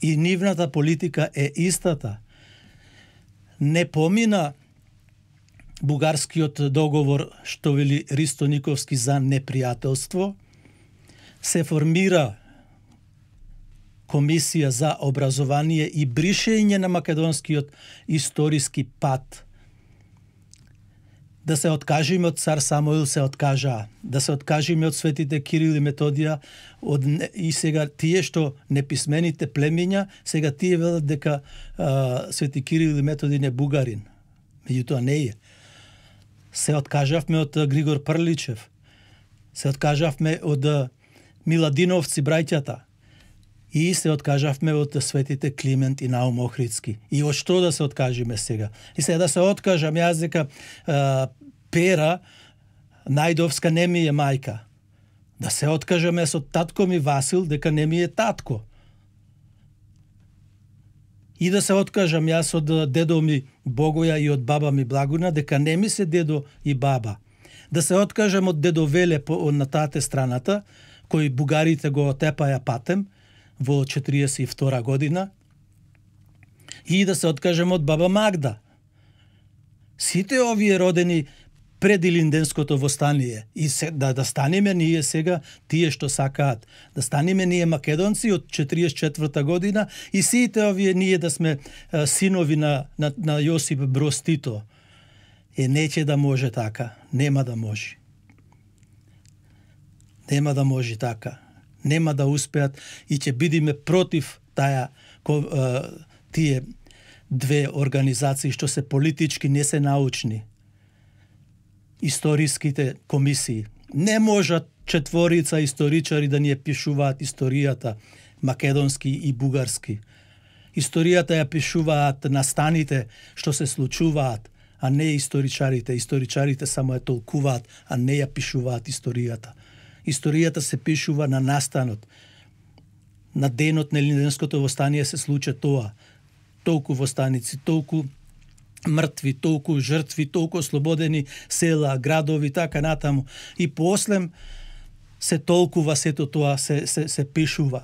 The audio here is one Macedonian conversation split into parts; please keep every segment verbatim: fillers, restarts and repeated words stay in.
И нивната политика е истата. Не помина бугарскиот договор, што вели Ристо Никовски, за непријателство. Се формира комисија за образование и бришење на македонскиот историски пат. Да се откажиме од цар Самуил, се откажаа. Да се откажиме од светите Кирил и Методија, од, и сега тие што неписмените племиња, сега тие велат дека а, свети Кирил и Методи не бугарин. Меѓутоа не е. Се откажавме од Григор Прличев. Се откажавме од Миладиновци браќата. И се откажавме од светите Климент и Наум Охридски. И од што да се откажиме сега? И сега да се откажам јас дека а, Пера Најдовска не ми е мајка. Да се откажам јас од татко ми Васил дека не ми е татко. И да се откажам јас од дедо ми Богоја и од баба ми Благуна дека не ми се дедо и баба. Да се откажам од дедо Веле по, на тате страната, кој бугарите го отепаја патем во четириесет и втора година, и да се откажем од баба Магда. Сите овие родени пред Илинденското востание, и се, да, да станеме ние сега тие што сакаат, да станеме ние македонци од четириесет и четврта година и сите овие ние да сме а, синови на, на, на Јосип Броз Тито. Е, неќе да може така, нема да може. Нема да може така. Нема да успеат и ќе бидеме против таа тие две организации што се политички, не се научни. Историските комисии. Не можат четворица историчари да ни ја пишуваат историјата македонски и бугарски. Историјата ја пишуваат настаните што се случуваат, а не историчарите. Историчарите само ја толкуваат, а не ја пишуваат историјата. Историјата се пишува на настанот. На денот на Илинденското востание се случи тоа. Толку востаници, толку мртви, толку жртви, толку ослободени села, градови, така натаму. И послем се толкува сето тоа, се, се, се пишува.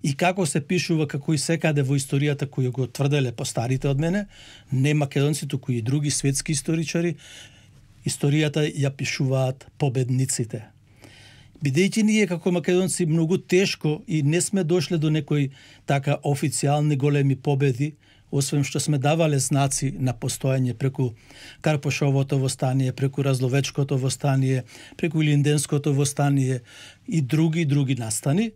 И како се пишува, како и секаде во историјата која го тврделе постарите од мене, не македонци, туку и други светски историчари, историјата ја пишуваат победниците. Бидејќи ние како македонци многу тешко и не сме дошле до некои така официјални големи победи, освен што сме давале знаци на постојање преку Карпошовото востание, преку Разловечкото востание, преку Илинденското востание и други други настани.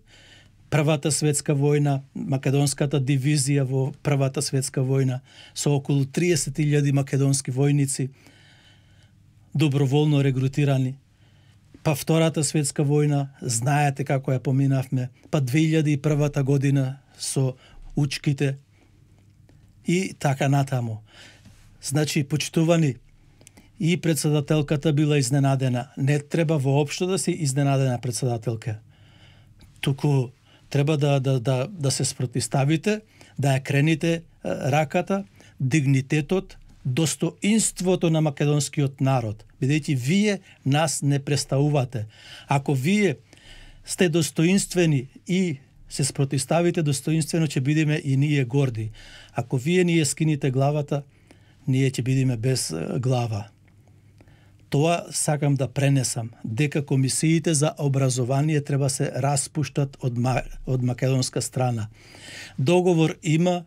Првата светска војна, македонската дивизија во Првата светска војна со околу триесет илјади македонски војници доброволно регрутирани. Па Втората светска војна, знаете како ја поминавме, па две илјади и првата година со учките и така натаму. Значи, почитувани, и председателката била изненадена. Не треба воопшто да се изненадена председателка. Туку треба да, да, да, да се спротивставите, да ја крените раката, дигнитетот, достоинството на македонскиот народ, бидејќи вие нас не представувате. Ако вие сте достоинствени и се спротивставите достоинствено, ќе бидеме и ние горди. Ако вие ние скините главата, ние ќе бидеме без глава. Тоа сакам да пренесам, дека комисиите за образование треба се распуштат од, од македонска страна. Договор има,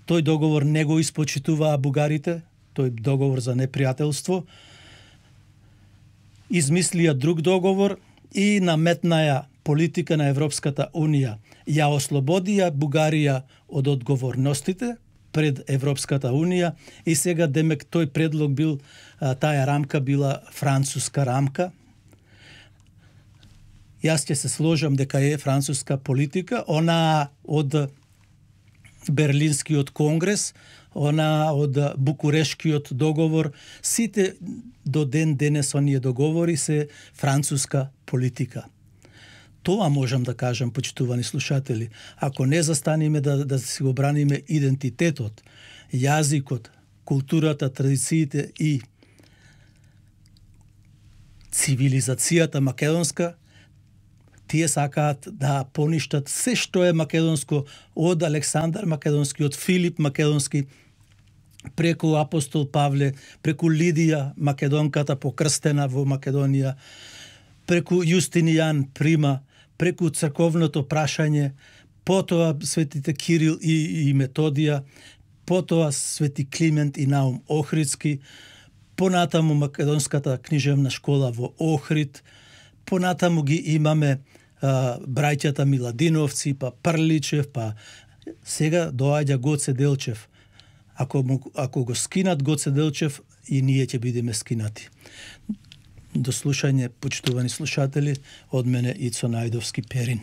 тој договор не го испочитуваа бугарите, тој договор за непријателство, измислија друг договор и наметнаја политика на Европската Унија. Ја ослободија Бугарија од одговорностите пред Европската Унија и сега демек тој предлог бил, таа рамка била француска рамка. Јас ќе се сложам дека е француска политика, она од Берлинскиот конгрес, она од Букурешкиот договор, сите до ден денес оние договори се француска политика. Тоа можам да кажам, почитувани слушатели. Ако не застанеме да, да си го браниме идентитетот, јазикот, културата, традициите и цивилизацијата македонска, Тие сакаат да поништат се што е македонско, од Александар Македонски, од Филип Македонски, преку апостол Павле, преку Лидија Македонката покрстена во Македонија, преку Јустинијан Прима, преку црковното прашање, потоа светите Кирил и, и Методија, потоа свети Климент и Наум Охридски, понатаму Македонската книжевна школа во Охрид, понатаму ги имаме а, браќата Миладиновци, па Прличев, па сега доаѓа Гоце Делчев. Ако, му, ако го скинат Гоце Делчев, и ние ќе бидеме скинати. До слушање, почитувани слушатели, од мене Ицо Најдовски Перин.